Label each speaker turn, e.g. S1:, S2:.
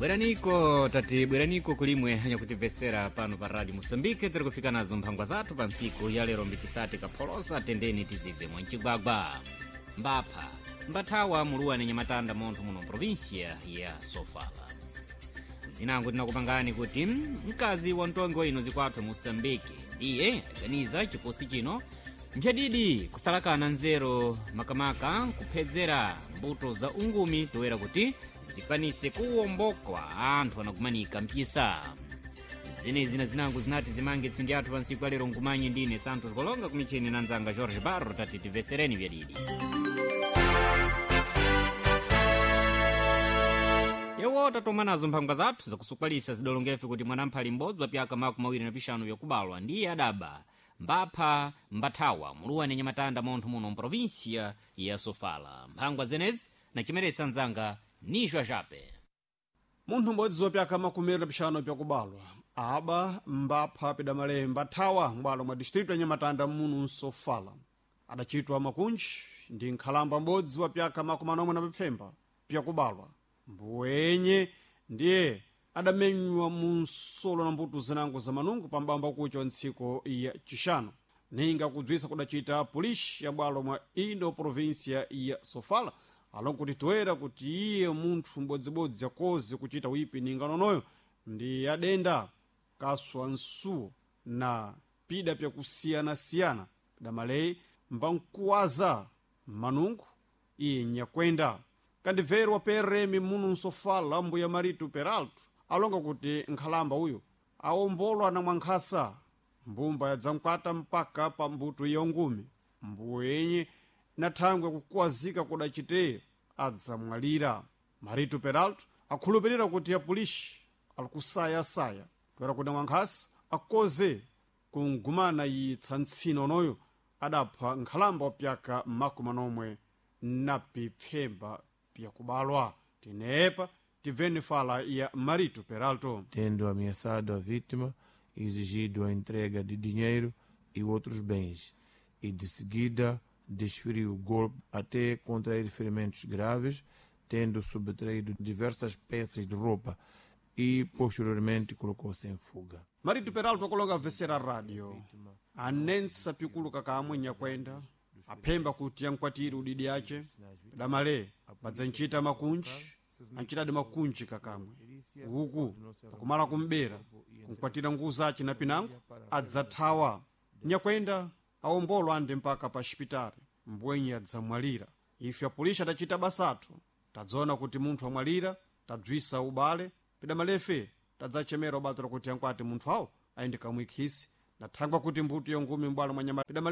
S1: Bweraniko tati bweraniko kulimwe anyakutimvetsera pano pa Radio Moçambique. Tiri kufika nazo mphangwa zathu pa ntsiku ya lero mbitisati kapholosa tendeni tizibve mwancigwagwa. Mbapha mbathawa muluwani nyamatanda montho muno província ya Sofala. Zinango tinakupangani kuti mkazi wa mtongi wa ino zikwathu Moçambique ndiye aganiza chiposi chino mphadidi kusalakana nzeru makamaka kuphedzera mbuto za ungumi toera kuti zikwanise kuwombokwa anthu anakumanika mpisa. Zenezi na zinango zinati zimange tsindi athu pa ntsiku alero nkumanyi ndine Santos Kolonga kumicheni na nzanga Jorge Barro tati timvesereni vyadidi. Yewo tatoma nazo mphangwa zathu zakusukwalisa zidolongefe kuti mwanamphali m'bodzi wa pyaka 25 yakubalwa ndiye adaba mbapha mbathawa muluwani nyamatanda montho muno mprovinsia ya Sofala. Mphangwa zenezi nachimeretsa nzanga nixwa jape.
S2: Munthu m'bodzi wa pyaka 25 pyakubalwa aba mbapha pidamale mbathawa m'bwalo mwa distritu ya Nyamatanda munu Nsofala adachitwa makunji ndi nkhalamba m'bodzi wa pyaka 47 pyakubalwa mbuwenye ndiye adamenywa mu nsolo na mbuto zinango za manungu pambamba kucha wa ntsiko ya Chixano. Ninga kudzwisa kudacita polisi ya bwalo mwa indo província ya Sofala alonkuti toera kuti iye munthu m'bodzibodzi akoze kuchita wipi ninga nonoyo ndi adenda kaswa nsuwo na pida pyakusiyanasiyana pidamaleyi mbankuwaza manungu iye nyakwenda. Kandibvero wa PRM munu Nsofala mbuya Marito Peralto alonga kuti nkhalamba uyu awombolwa na mwankhasa mbumba yadzamkwata mpaka pa mbuto ya ngumi mbuwenye na thangwe kukuwazika kudacite adzamwalira. Marito Peralto akhulupirira kuti apolisi alikusayasaya toera kuti mwankhasa akoze kungumana yitsa ntsina onoyo adapha nkhalamba wa pyaka 47 pyakubalwa. Tinepa tibveni fala ya Marito Peralto.
S3: Tendo ameaçado a vítima, exigido a entrega de dinheiro e outros bens, e de seguida desferiu o golpe até contrair ferimentos graves, tendo subtraído diversas peças de roupa e posteriormente colocou-se em fuga.
S2: Marito Peralto akulonga vesera radio anensa pikuluka kamwe nyakwenda aphemba kuti yankwatire udidi ace damale badzanchita makunji anchitadi makunji kakamwe uku pakumala kumbera kunkwatira nguwu zace na pinango adzathawa nyakwenda awombolwa ande mpaka pa xipitali mbwenye adzamwalira. Ife apolisi adacita basathu tadzaona kuti munthu amwalira tadzwisa ubale pidamalefe tadzachemera ubatira kuti ankwati munthu awo ayende kamwikhisi nathangwa kuti mbuto yongumi m'bwalo mwa nyama pidamale.